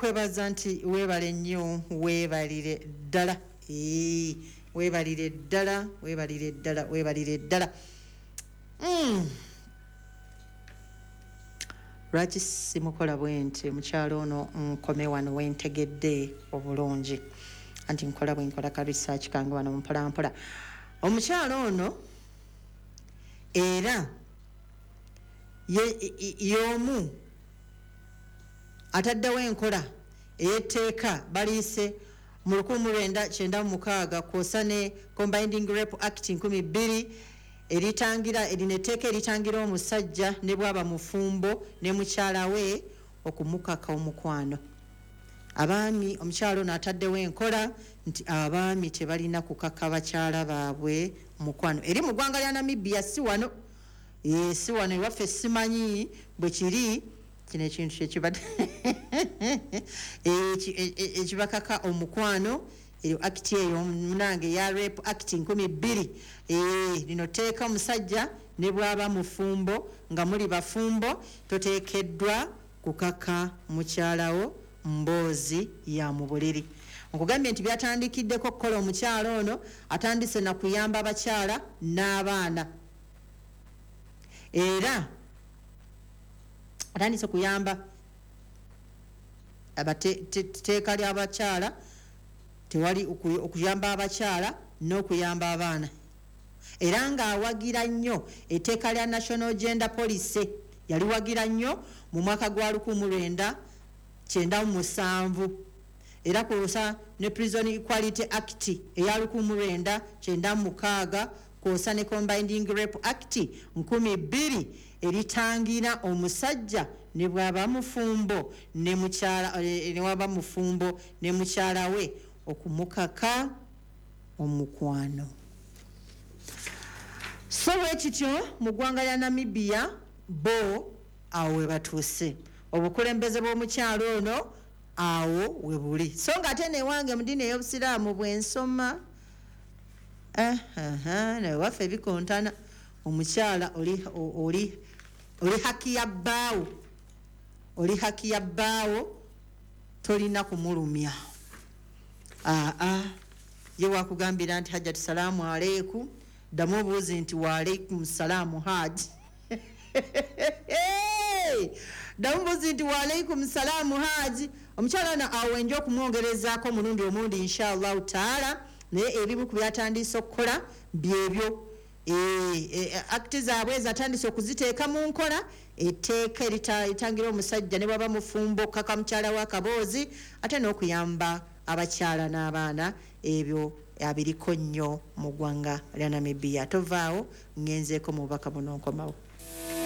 Nkwebaza nti weebale nnyo, weebalire ddala. Weebalire ddala, weebalire ddala, weebalire ddala. Lwaki simukola bwe nti mukyalo ono? Nkome wano wentegedde obulungi, anti nkola bwe nkola ka research kange wano mpolampola. Omukyalo ono era y'omu ataddewo enkola ey'etteeka baliise mu 1996, kwosa ne Combining Rape Act 2000, eritangira, erino etteeka eritangira omusajja ne bwaba mufumbo ne mukyala we okumukaka omukwano. Abaami, omukyala ono ataddewo enkola nti abaami tebalina kukaka bakyala baabwe mukwano. Eri mu ggwanga lya Namibia, si wano. Si wano ewaffe, simanyi bwe kiri. Kino ekintu kyekibadde ekibakaka omukwano, eyo act eyo munange ya Rape Act 2000. Lino tteeka omusajja ne bwaba mufumbo, nga muli bafumbo, toteekeddwa kukaka mukyalawo mboozi ya mu buliri. Nkugambye nti byatandikiddeko okukola, omukyala ono atandise na kuyamba abakyala n'abaana, era atandise kuyamba teeka ly'abakyala, tewali okuyamba abakyala n'okuyamba abaana, era ng'awagira nnyo etteeka lya National Gender Policy. Yaliwagira nnyo mu mwaka gwa 1997, era kwosa ne Prison Equality Act eya 1996, kwosa ne Combining Rape Act 2000, eritangira omusajja ne bwaba mufumbo ne mukyala, ne waba mufumbo ne mukyala we okumukaka omukwano. So bwe kityo mu ggwanga lya Namibia bo awo we batuuse, obukulembeze bw'omukyalo ono awo we buli. So nga ate newange mu ddiini ey'obusiraamu bwensoma, newaffe bikontana. Omukyala oli haki ya bbaawo, oli haki ya bbaawo, tolina kumulumya. Aa, ye wakugambira nti, "Hajjati, salaamu aleikum," ddamu obuuzi nti, "Waalaikum salaamu, haji." Ddamu buuzi nti, "Waalaikum salaamu, haji." Omukyala ono awo wenja okumwongerezaako omulundi omundi, inshallahu taala. Naye ebimu ku byatandise okukola byebyo. Act zaabwe zatandise okuziteeka mu nkola, etteeka eritangira omusajja ne bwaba mufumbo okukaka mukyala w'akaboozi, ate n'okuyamba abakyala n'abaana. Ebyo abiriko nnyo mu ggwanga lya Namibia. Tovaawo, ngenzeeko mu bubaka buno, nkomawo.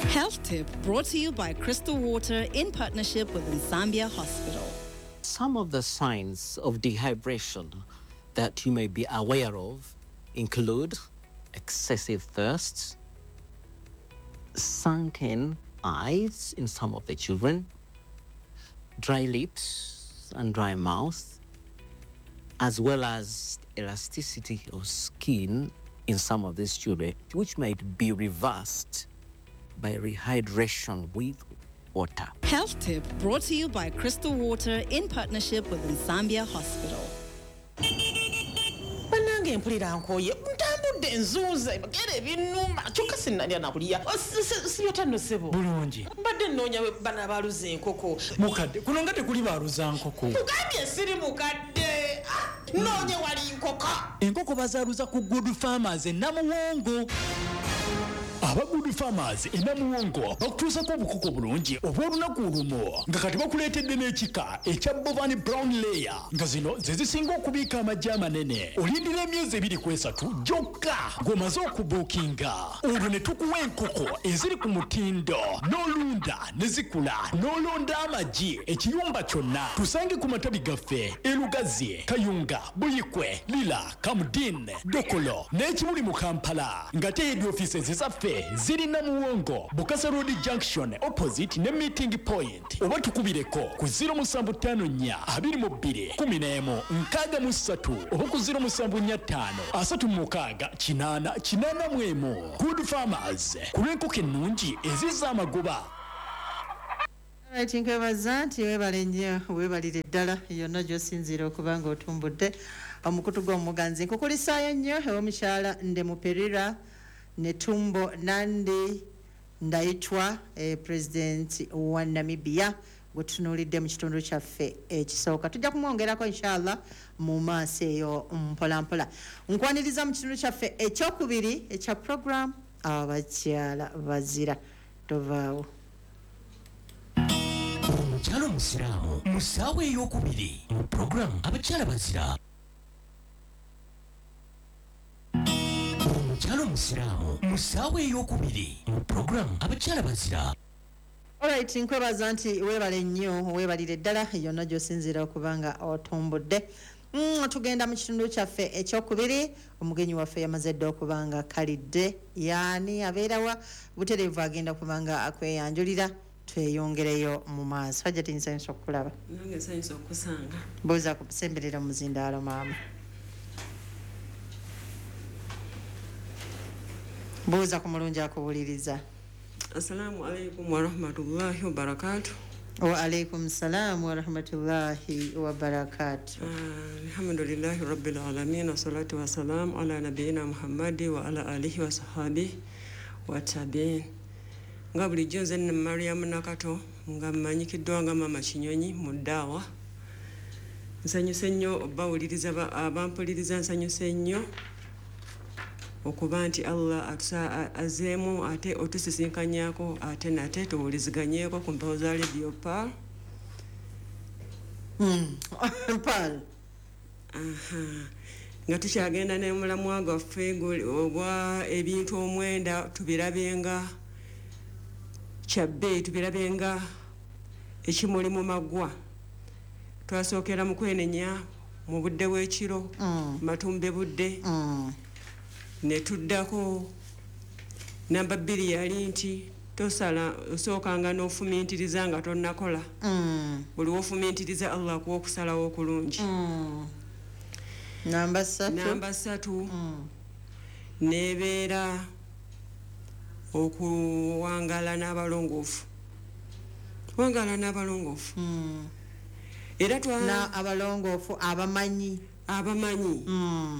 Health Tip brought to you by Crystal Water in partnership with Nsambya Hospital. Some of the signs of dehydration that you may be aware of include excessive thirst, sunken eyes in some of the children, dry lips and dry mouth, as well as elasticity of skin in some of these children, which might be reversed by rehydration with water. Health Tip brought to you by Crystal Water in partnership with Nsambya Hospital. Bannange, mpulira nkooye, ntambudde, nzuuze gera ebinnuma, kyokka sinnalya nakulya. Sibyota nno, ssebo? Bulungi. Mbadde nnoonya bano abaaluza enkoko. Mukadde, kuno nga tekuli baaluza nkoko. Tugambye siri mukadde. Ah, noonye wali nkoko. Enkoko bazaaluza ku Good Farmers e Namuwongo. Aba Good Farmers e Namuwongo bakutuusako obukoko bulungi obw'olunaku olumu, nga kati bakuleetedde n'ekika ekya Bovan Brown Layer, nga zino ze zisinga okubiika amagi amanene. Olindira emyezi 2 ku 3 gyokka ng'omaze okubuukinga, olwo ne tukuwa enkoko eziri ku mutindo, n'olunda ne zikula, n'olonda amagi ekiyumba kyonna. Tusange ku matabi gaffe e Lugazi, Kayunga, Buyikwe, Lira, Kamdin, Dokolo n'Ekibuli mu Kampala, nga te head offices zaffe ziri Namuwongo, Bukasa Road Junction, opposite ne Meeting Point, oba tukubireko ku 0754 22 11 63, oba ku 0745 36 8 81. Good Farmers, ku lw'enkoko ennungi ezizza amagoba. Right, nkwebaza nti weebale nnyo, weebalire ddala yonna gy'osinziira okuba nga otumbudde omukutu gw'omuganzi. Nkukulisaayo nnyo ew'omukyala Ndemuperera Netumbo Nandi Ndaitwa, President wa Namibia, gwe tutunuulidde mu kitundu kyaffe ekisooka. Tujja kumwongerako inshallah mu maaso eyo mpolampola. Nkwaniriza mu kitundu kyaffe ekyokubiri ekya program Abakyala Bazira. Tovaawo. Omukyala omusiraamu mu ssaawa ey'okubiri mu puroguramu Abakyala Bazira. Omukyala omusiraamu mu ssaawa ey'okubiri mu puroguramu Abakyala Bazira. Alright, nkwebaza nti weebale nnyo, weebalire ddala yonna gy'osinziira okuba nga otumbudde. Tugenda mu kitundu kyaffe ekyokubiri. Omugenyi waffe yamaze dda okuba nga kalidde, yaani abeerawa butereevu, agenda kuba nga akweyanjulira, tweyongereyo mu maaso. Hajjati, nsanyusa okukulaba. Nange nsanyusa okusanga. Buuza kusemberera muzindaalo maama, buuza ku mulungi akuwuliriza. Assalamu alaikum warahmatullahi wabarakatu. Wa alaikum salam warahmatullahi wabarakatu. Alhamdulillahi rabbil alamin, wassalatu wassalamu ala nabiyina Muhammadi wa ala alihi wa sahabihi wa tabiin. Nga bulijjo nze nne Mariam Nakato, nga mmanyikiddwa nga Mama Kinyonyi mu ddaawa. Nsanyuse nnyo obbawuliriza, abampuliriza, nsanyuse nnyo okuba nti Allah azeemu ate otusisinkanyako ate nate tuwuliziganyeeko ku mpewo za Radio Pearl. Pearl. Nga tukyagenda n'omulamwa gwaffe ogwa ebintu 9 tubirabenga kyabbeeyi, tubirabenga ekimuli mu maggwa. Twasookera mu kwenenya mu budde bw'ekiro, matumbe budde, ne tuddako namba 2 yali nti tosala, osookanga n'ofumintiriza nga tonnakola. Buli w'ofumintiriza Allah akuwa okusalawo okulungi. Namba 3. Namba 3 nebeera okuwangala n'abalongoofu. Wangala n'abalongoofu. Era na abalongoofu abamanyi. Abamanyi.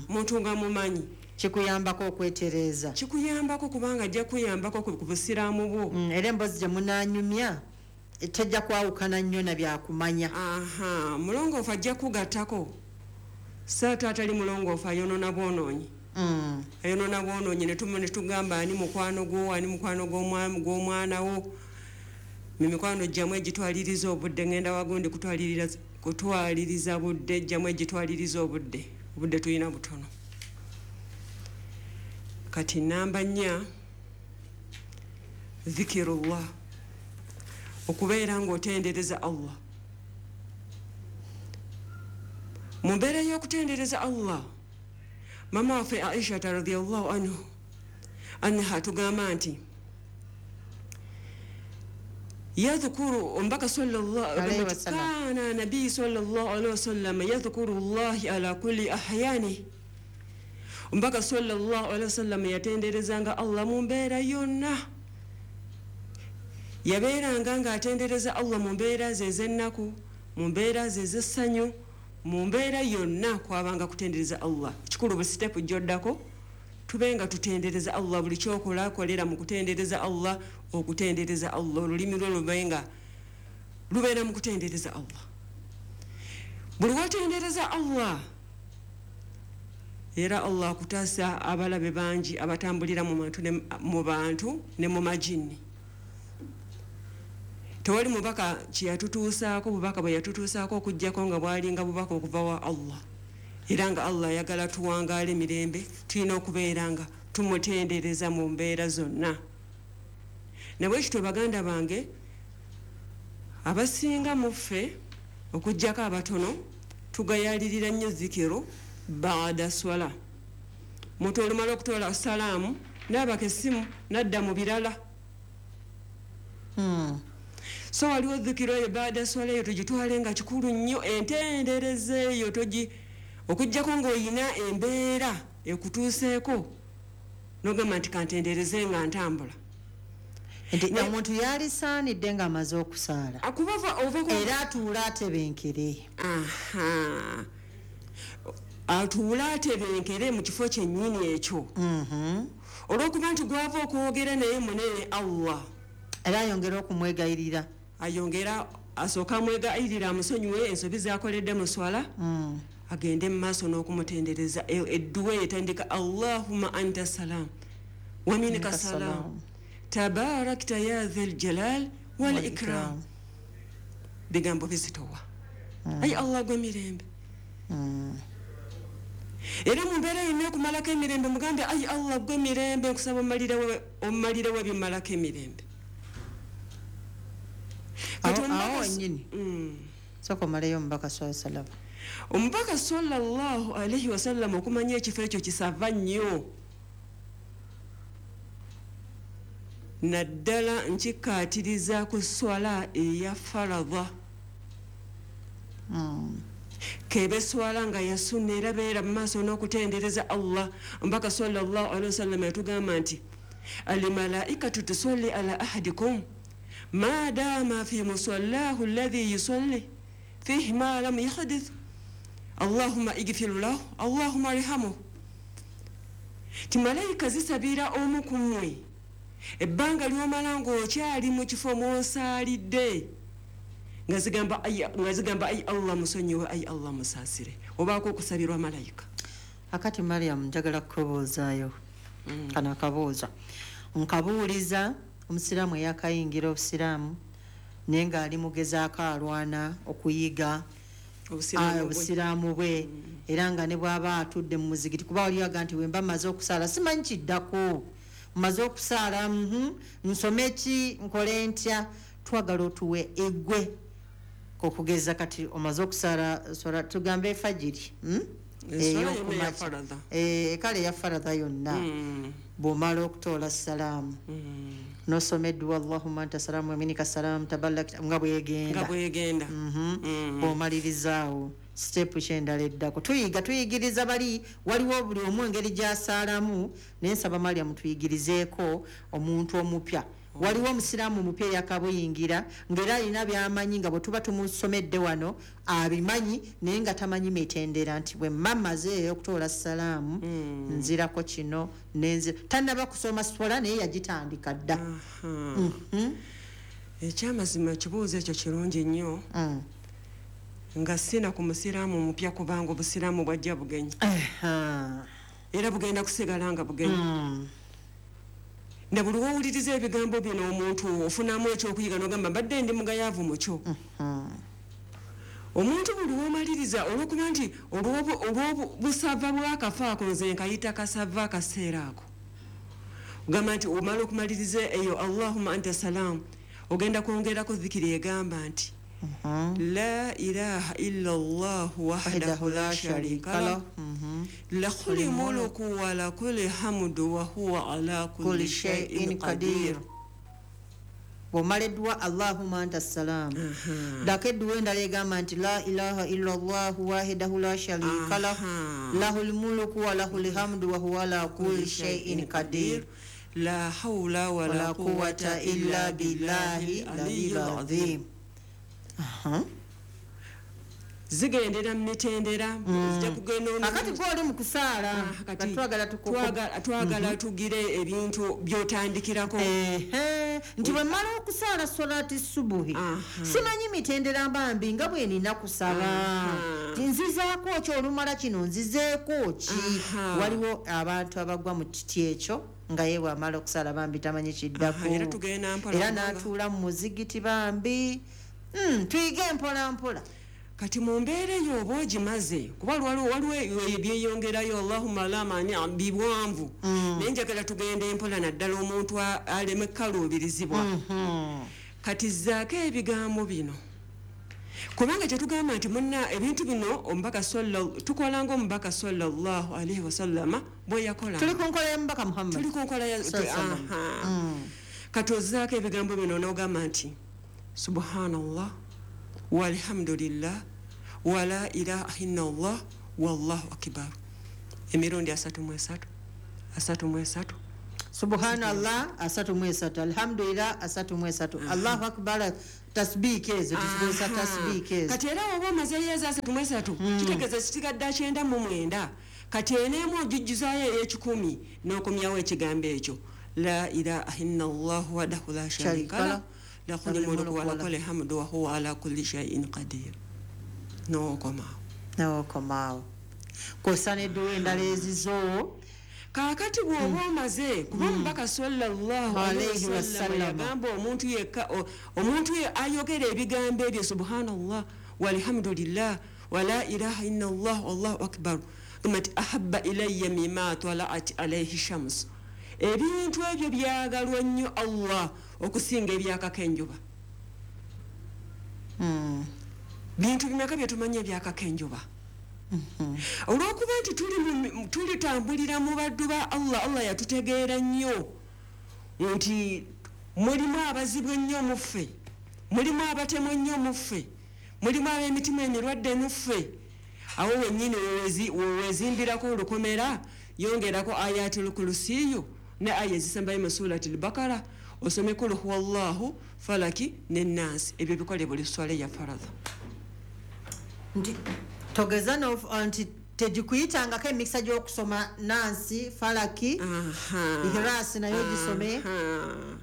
Muntu nga mumanyi. Kikuyambako okwetereeza. Kikuyambako kubanga ajja kuyambako ku busiraamu bwo. Era emboozi gye munaanyumya tejja kwawukana nnyo na byakumanya. Aha, mulongoofu ajja kugattako. Saatu atali mulongoofu ayonoona bwonoonyi. Ayonoona bwonoonyi ne tugamba ani mukwano gwo, ani mukwano gw'omwana wo. Mikwano gyammwe gitwaliriza obudde, ngenda wagundi kutwaliriza budde, gyammwe gitwaliriza obudde. Obudde tulina butono. Kati namba 4, zikirullah, okubeera ng'otendereza Allah. Mu mbeera y'okutendereza Allah, mama waffe Aisha radhiyallahu anha tugamba nti yadhkuru ombaka sallallahu alayhi wasallam, kana nabii sallallahu alayhi wasallam yadhkuru Allah ala kulli ahyani. Ombaka sallallahu alayhi wasallam yatenderezanga Allah mu mbeera yonna. Yabeeranga ng'atendereza Allah mu mbeera ze ez'ennaku, mu mbeera ze ez'essanyu, mu mbeera yonna kwabanga kutendereza Allah. Kikulu buli sitepu gy'oddako tube nga tutendereza Allah. Buli ky'okola kolera mu kutendereza Allah, okutendereza Allah. Olulimi lwo lubenga lubeera mu kutendereza Allah. Buli w'otendereza Allah, era Allah akutaasa abalabe bangi abatambulira mu bantu ne mu majinni. Tewali mubaka kyeyatutuusaako, bubaka bwe yatutuusaako okuggyako nga bwalinga bubaka okuva wa Allah. Era nga Allah ayagala tuwangaale mirembe, tulina okubeera nga tumutendereza mu mbeera zonna. Ne bwe kityo baganda bange, abasinga mu ffe okuggyako abatono tugayaalirira nnyo zikiru baada swala. Muntu olumala okutoola salaamu n'abaka essimu n'adda mu birala. So waliwo zikiru eyo baada swala eyo tugitwale nga kikulu nnyo, entendereza eyo okuggyako ng'oyina embeera ekutuuseeko n'ogamba nti kantendereze nga ntambula. Nti omuntu yalisaanidde ng'amaze okusaala era atuula atebenkere. Atuula atebenkere mu kifo kyennyini ekyo, olw'okuba nti gwava okwogera naye munene Allah, era ayongera okumwegayirira, ayongera asooka amwegayirira amusonyiwe ensobi zakoledde mu swala, agende mu maaso n'okumutendereza. Edduwa etandika Allahumma anta salam wa minka salam tabarakta ya dhal jalal wal ikram. Bigambo bizitowa. Ayi Allah gwe mirembe. Era mu mbeera yonna okumalako emirembe mugambe ayi Allah gwe mirembe, nkusaba omumalirewo ebimalako emirembe. Awo wennyini sooka omaleyo omubaka sallallahu alaihi wasallam. Omubaka sallallahu alaihi wasallam okumanya ekifo ekyo kisava nnyo, naddala nkikkaatiriza ku swala eya faradha. Kebe swala nga ya sunna era beera mu maaso n'okutendereza Allah. Omubaka sallallahu alaihi wasallam yatugamba nti almalaikatu tusalli ala ahadikum ma dama fi musallahu alladhi yusalli fihi ma lam yahdith Allahumma igfir lahu Allahumma arhamhu. Ti malayika zisabira omu ku mmwe ebbanga ly'omala ng'okyali mu kifo mw'osaalidde, nga zigamba ayi Allah musonyiwe, ayi Allah musaasire. Obaako okusabirwa malayika. Akati Mariam, njagala kukubuuzaayo kano akabuuza. Nkabuuliza omusiraamu eyakayingira obusiraamu naye ng'ali mugezaako alwana okuyiga obusiraamu bwe, era nga ne bw'aba atudde mu muzigiti, kuba waliwo nti bwe mba mmaze okusaala simanyi kiddako, mmaze okusaala nsome ki, nkole ntya. Twagala otuwe eggwe okugeza kati omaze okusaala swala tugambe efajiri, kale eya faradha yonna, bw'omala okutoola salaamu n'osoma edduwa Allahumma anta salaamu wa minka salaamu tabarakta, nga bwegenda bw'omalirizaawo sitepu kyendala eddako. Tuyiga tuyigiriza bali, waliwo buli omu engeri gy'asaalamu, naye nsaba Mariam tuyigirizeeko omuntu omupya. Waliwo omusiraamu omupya eyakabuyingira ng'era alina by'amanyi, nga bwe tuba tumusomedde wano abimanyi, naye nga tamanyi mitendera nti bwe mma mmaze okutoola salaamu nzirako kino nenzira. Tannaba kusoma swala naye yagitandika dda. Ekyamazima ekibuuzo ekyo kirungi nnyo, nga sina ku musiraamu mupya, kubanga obusiraamu bwajja bugenyi era bugenda kusigala nga bugenyi. Na buli wowuliriza ebigambo bino omuntu ofunamu ekyokuyiga n'ogamba mbadde ndi mugayaavu mukyo. Omuntu buli womaliriza olw'okuba nti olw'obusava bw'akafa ako, nze nkayita kasava akaseera ako, ogamba nti omala okumaliriza eyo Allahumma anta salam, ogenda kwongerako zikiri egamba nti la ilaha illa Allah wahdahu la sharika lah lahul mulku wa lahul hamdu wa huwa ala kulli shay'in qadir. Bw'omala edduwa Allahumma anta salam, ddako edduwa endala egamba nti la ilaha illa Allah wahdahu la sharika lah lahul mulku wa lahul hamdu wa huwa ala kulli shay'in qadir la hawla wa la quwwata illa billahi aliyyil azim. Zigendera mu mitendera, zijja kugenda akati gw'oli mu kusaala, twagala tugire ebintu by'otandikirako. Nti bwe mmala okusaala swalaati subuhi simanyi mitendera mbambi nga bwe nina kusaba, nzizaako ki olumala kino, nzizeeko ki. Waliwo abantu abagwa mu kiti ekyo nga ye bw'amala okusaala bambi tamanyi kiddako, era n'atuula mu muzigiti bambi. Tuyige mpola mpola. Kati mu mbeera eyo oba ogimaze, kuba waliwo ebyeyongerayo Allahumma la mani biwanvu, naye njagala tugende mpola naddala omuntu aleme kukaluubirizibwa. Kati zzaako ebigambo bino, kubanga kyetugamba nti munna ebintu bino omubaka tukola ng'omubaka sallallahu alaihi wasallama bwe yakola. Tuli ku nkola ya mubaka Muhammad, tuli ku nkola ya. Kati ozzaako ebigambo bino n'ogamba nti subhanallah walhamdulillah wala ilaha illallah wallahu akbar, emirundi 33 33. Subhanallah 33, alhamdulillah 33, Allahu akbar, tasbiiki ezo tuzikozesa, tasbiiki ezo. Kati era oba omazeeyo eza 33, kitegeeza kisigadde 99. Kati eneemu ogijjuzaayo ey'ekikumi n'okomyawo ekigambo ekyo, la ilaha illa llahu wahdahu la sharika lah, lahul mulku wa lahul hamdu wa huwa ala kulli shay'in qadir, n'okomaawo. N'okomaawo, kwossa n'edduwa endala ezizo. Kaakati bw'oba omaze, kuba omubaka sallallahu Alayhi alaihi wasallam wasallam yagamba omuntu yekka, omuntu ayogera ebigambo ebyo, subhanallah walhamdulillah wala ilaha illa llah wallahu akbar, gamba nti ahabba ilayya mima talaat alaihi shams, ebintu ebyo byagalwa nnyo Allah okusinga ebyakako enjuba. Bintu bimeka byetumanyi ebyakako enjuba? Olwokuba nti tulitambulira mu baddu ba Allah, Allah yatutegeera nnyo nti mulimu abazibu ennyo muffe, mulimu abatemu ennyo muffe, mulimu ab'emitima emirwadde muffe. Awo wennyini wewezimbirako olukomera, yongerako ayatul kurusiyu ne aya ezisembayo mu surati Lbakara, osome kul huwa llahu, Falaki ne Nansi. Ebyo bikole buli swala ya faradha. Nti togeza nti tegikuyitangako emikisa gy'okusoma Nansi, Falaki, Ihirasi nayo gisome. Aha.